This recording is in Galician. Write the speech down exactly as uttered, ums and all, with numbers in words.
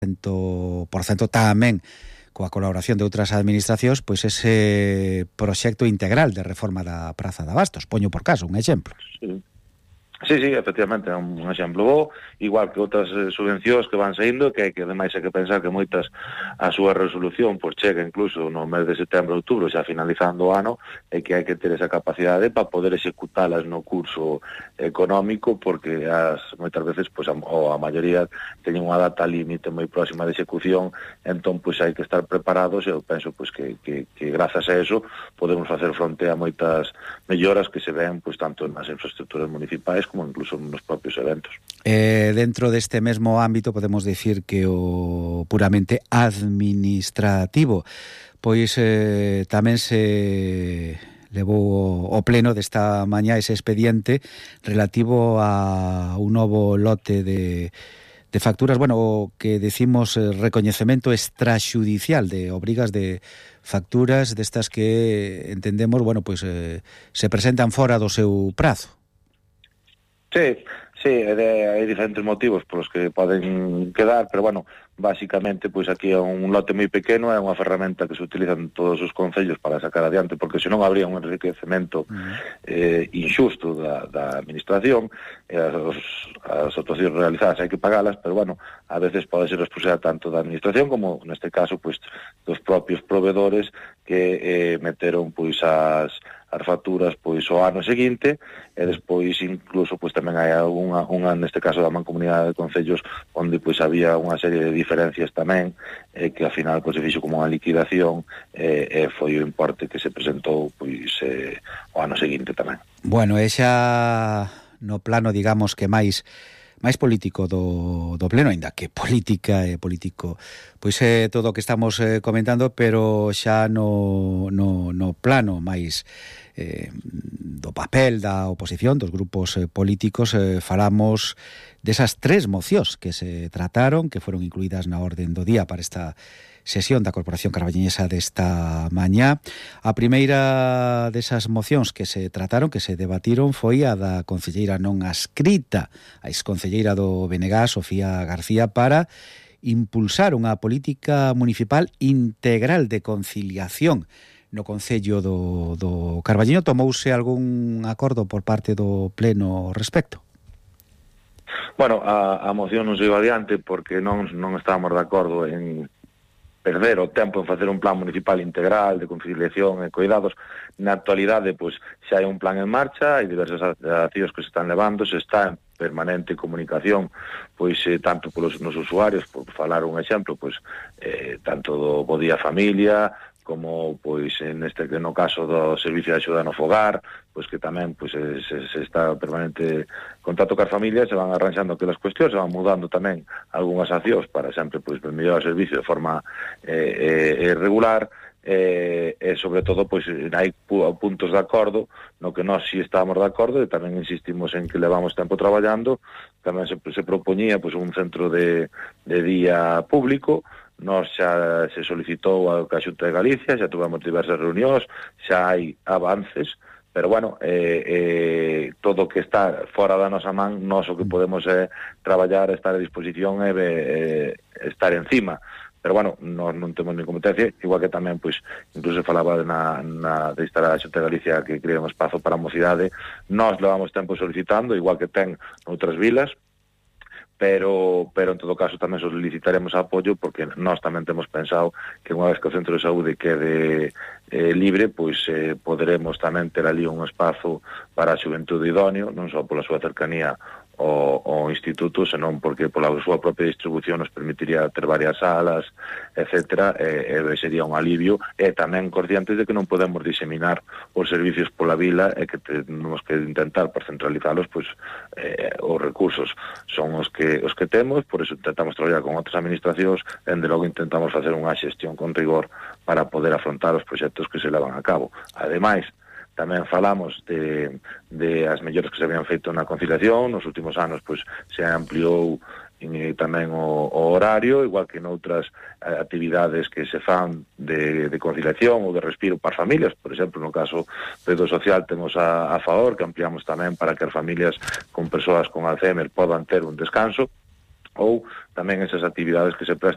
cento por cento tamén coa colaboración de outras administracións, pois ese proxecto integral de reforma da Praza de Abastos. Poño por caso un exemplo. Sí. Sí, sí, efectivamente, é un exemplo bo, igual que outras eh, subvencións que van saindo, que, que ademais hai que pensar que moitas a súa resolución pois chega incluso no mes de setembro, outubro, xa finalizando o ano, e que hai que ter esa capacidade para poder executalas no curso económico, porque as moitas veces, pois, a, ou a maioría teñen unha data límite moi próxima de execución, entón, pois, hai que estar preparados, e eu penso, pois, que, que, que grazas a eso podemos facer fronte a moitas melloras que se ven, pois, tanto nas infraestructuras municipais como incluso nos propios eventos. Eh, dentro deste mesmo ámbito podemos dicir que o puramente administrativo pois eh, tamén se levou o pleno desta mañá ese expediente relativo a un novo lote de de facturas, bueno, o que decimos eh, recoñecemento extraxudicial de obrigas de facturas destas que entendemos, bueno, pois eh, se presentan fora do seu prazo. Sí, sí, hai diferentes motivos polos que poden quedar, pero bueno, básicamente, pois aquí é un lote moi pequeno, é unha ferramenta que se utiliza en todos os concellos para sacar adiante, porque senón habría un enriquecemento uh-huh. eh, injusto da, da administración, e as, as actuacións realizadas hai que pagalas, pero bueno, a veces pode ser responsabilidade tanto da administración como, neste caso, pois, dos propios proveedores que eh, meteron, pois, as as facturas pois o ano seguinte, e despois incluso pois tamén hai algunha, unha, neste caso da Mancomunidade de Concellos, onde pois había unha serie de diferencias tamén, eh, que ao final pois se fixo como unha liquidación, e eh, eh, foi o importe que se presentou pois eh, o ano seguinte tamén. Bueno, e xa no plano, digamos, que máis máis político do, do pleno, ainda que política e político pois é todo o que estamos eh, comentando, pero xa no, no, no plano máis eh, do papel da oposición, dos grupos eh, políticos, eh, falamos desas tres mocións que se trataron, que foron incluídas na orden do día para esta sesión da Corporación Carballiñesa desta mañá. A primeira desas mocións que se trataron, que se debatiron, foi a da concelleira non adscrita, a exconcelleira do B N G, Sofía García, para impulsar unha política municipal integral de conciliación no Concello do, do Carballiño. Tomouse algún acordo por parte do Pleno ao respecto? Bueno, a, a moción non se iba adiante porque non, non estábamos de acordo en perder o tempo en facer un plan municipal integral de conciliación e cuidados. Na actualidade, pois, xa hai un plan en marcha, hai diversas accións que se están levando, se está en permanente comunicación, pois, eh, tanto polos nos usuarios, por falar un exemplo, pois, eh, tanto do Bo Día Familia, como, pois, en este, no caso do Servicio de Axuda no Fogar, pois que tamén pois, se, se está permanente contacto cas familias, se van arranxando aquelas cuestións, se van mudando tamén algunhas accións para sempre pois, mellorar o servicio de forma eh, eh, regular, e, e sobre todo pois hai puntos de acordo no que nós si estábamos de acordo, e tamén insistimos en que levamos tempo traballando. Tamén se, se propoñía pois, un centro de, de día público. Nós xa se solicitou a Xunta de Galicia, xa tuvemos diversas reunións, xa hai avances, pero bueno, eh, eh, todo o que está fora da nosa man, nós o que podemos é eh, traballar, estar a disposición e eh, estar encima. Pero bueno, nós non temos ni competencia, igual que tamén, pois, incluso falaba na, na de estar a Xunta de Galicia que crea un espazo para a mocidade. Nós levamos tempo solicitando, igual que ten noutras vilas, pero pero en todo caso tamén solicitaremos apoio, porque nós tamén temos pensado que unha vez que o centro de saúde quede eh, libre, pois eh, poderemos tamén ter ali un espazo para a xuventude idóneo, non só pola súa cercanía o, o instituto, senón porque pola súa propia distribución nos permitiría ter varias salas, etcétera, e, e sería un alivio, e tamén conscientes de que non podemos diseminar os servicios pola vila e que temos que intentar por centralizalos, pois eh, os recursos son os que os que temos, por eso intentamos traballar con outras administracións, e de logo intentamos facer unha xestión con rigor para poder afrontar os proxectos que se levan a cabo. Ademais, tamén falamos de, de as melloras que se habían feito na conciliación. Nos últimos anos pois se ampliou e tamén o, o horario, igual que noutras eh, actividades que se fan de, de conciliación ou de respiro para as familias. Por exemplo, no caso do social temos a, a favor, que ampliamos tamén para que as familias con persoas con Alzheimer podan ter un descanso, ou tamén esas actividades que se prestan